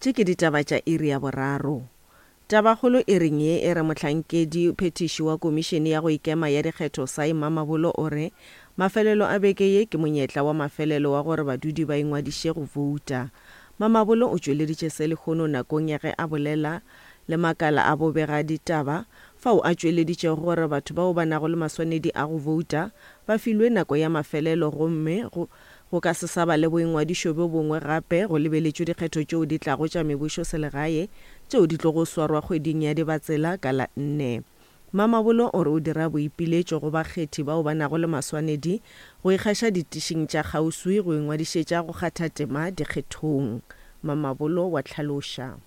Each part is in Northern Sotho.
Tše ke ditaba tša iri ya boraro. Tabakgolo iring ye e re mohlankedi phethiši wa Komišene ya go Ikema ya Dikgetho Sai Mamabolo o re mafelelo a beke ye ke monyetla wa mafelelo wa gore badudi ba ingwadiše go bouta. Mamabolo o tšweleditše se lehono nakong ya ge a bolela le makala a bobegaditaba fao a tšweleditšego gore batho bao ba nago le maswanedi a go bouta ba filwe nako ya mafelelo gomme go Go ka se sa ba le boingwadišo bjo bongwe gape go lebeletšwe dikgetho tšeo di tlago tša mebusoselegae tšeo di tlogo swarwa kgweding ya Dibatsela ka la nne. Mamabolo o re o dira boipiletšo go bakgethi bao ba nago le maswanedi go ikgaša ditišing tša kgauswi go ingwadišetša go kgatha tema dikgethong. Mamabolo wa hlaloša.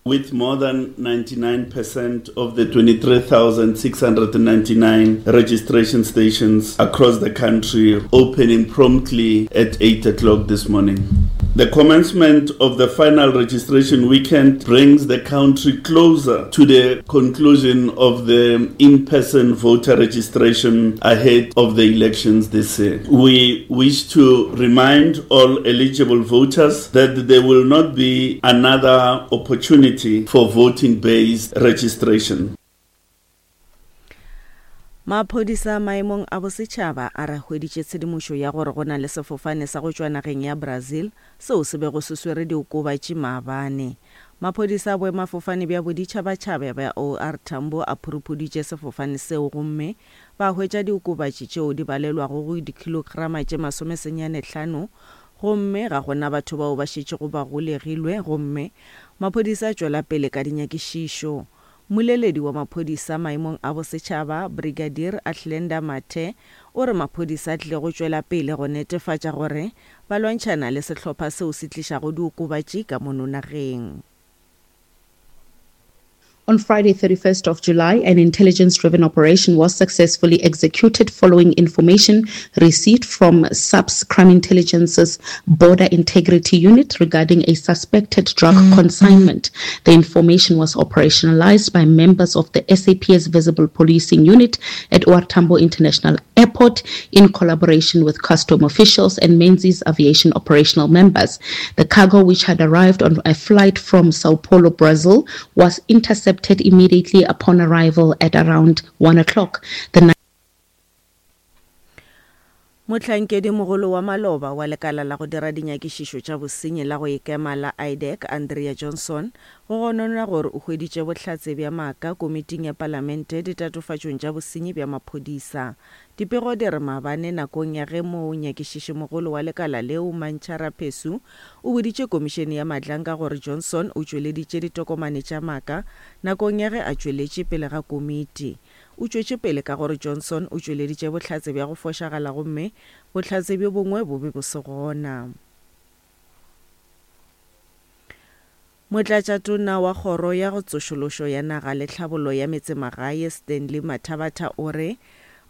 With more than 99% of the 23,699 registration stations across the country opening promptly at 8 o'clock this morning. The commencement of the final registration weekend brings the country closer to the conclusion of the in person voter registration ahead of the elections this year. We wish to remind all eligible voters that there will not be another opportunity for voting based registration. Maphodisa maemong a bosetšhaba a re hweditše tshedimošo ya gore go na le sefofane sa go tšwa nageng ya Brazil seo se bego se swere diokobatši maabane. Maphodisa a boemafofane bja boditšhabatšhaba bja OR Tambo a phuruphuditše sefofane seo gomme ba hwetša diokobatši tšeo di balelwago go dikhilograma tše masomesenyanehlano gomme ga go na batho bao ba šetšego ba golegilwe gomme maphodisa a tšwela pele ka dinyakišišo. Mmoleledi wa maphodisa maemong a bosetšhaba, Brigadier Athlenda Mathe, o re maphodisa a tlile go tšwela pele go netefatša gore ba lwantšhana le sehlopha seo se tlišago diokobatši ka mono nageng. On Friday, 31st of July, an intelligence-driven operation was successfully executed following information received from SAPS Crime Intelligence's Border Integrity Unit regarding a suspected drug consignment. The information was operationalized by members of the SAPS Visible Policing Unit at OR Tambo International Airport in collaboration with custom officials and Menzies Aviation operational members. The cargo, which had arrived on a flight from Sao Paulo, Brazil, was intercepted immediately upon arrival at around 1 o'clock. The Mohlankedimogolo wa maloba wa lekala la go dira dinyakišišo tša bosenyi la go ikema la IDAC, Andrea Johnson, go gononwa gore o hweditše bohlatse bja maaka komiting ya palamente ditatofatšong tša bosenyi bja maphodisa. Dipego di re maabane nakong ya ge monyakišišimogolo wa lekala leo, Mantsha Raphesu, o boditše komišene ya Madlanga gore Johnson o tšweleditše ditokomane tša maaka nakong ya ge a tšweletše pele ga komiti. O tšwetše pele ka gore Johnson o tšweleditše bohlatse bja go fošagala gomme bohlatse bjo bongwe bo be bo se gona. Motlatšatona wa Kgoro ya Tsošološo ya Naga le Tlhabollo ya Metsemagae, Stanley Mathabatha o re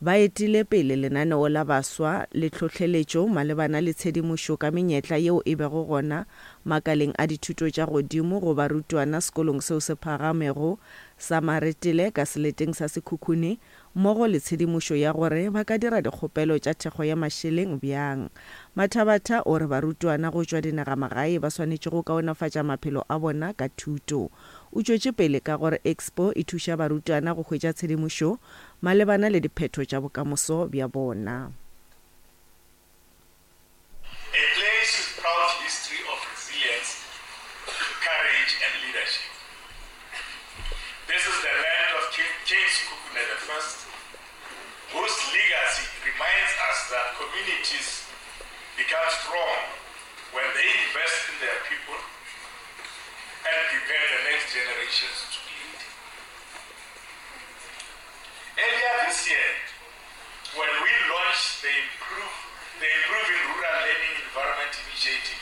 ba etile pele lenaneo la baswa le tlhohleletšo malebana le tshedimošo ka menyetla yeo e bego gona makaleng a dithuto tša godimo go barutwana sekolong seo se phagamego sa Maretele ka seleteng sa Sekhukhune mmogo le tshedimošo ya gore ba ka dira dikgopelo tša thekgo ya mašeleng bjang. Mathabatha o re barutwana go tšwa dinagamagae ba swanetše go kaonafatša maphelo a bona ka thuto. O tšwetše pele ka gore Expo e thuša barutwana go hwetša tshedimošo malebana le diphetho tša bokamoso bja bona. A place with proud history of resilience, courage and leadership. This is the land of King, King Sekhukhune I, whose legacy reminds us that communities become strong when they invest in their people and prepare the next generations to lead. Earlier this year, when we launched the Improve, the Improving Rural Learning Environment Initiative,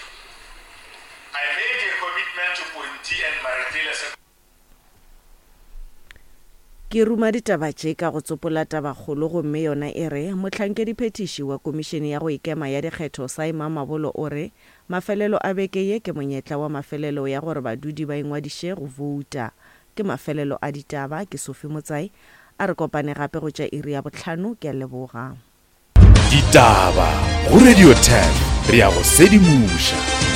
I made a commitment to Ponti and Maretele Ke ruma ditaba tše ka go tsopola tabakgolo gomme yona e re, Mohlankediphethiši wa Komišene ya go Ikema ya Dikgetho Saima Mabolo o re mafelelo a beke ye ke monyetla wa mafelelo ya gore badudi ba ingwadiše go bouta. Ke mafelelo a ditaba, ke Sophie Motsai. A re kopane gape go tša iri ya bohlano, ke a leboga. Ditaba go Radio 10 re ya go sedimoša.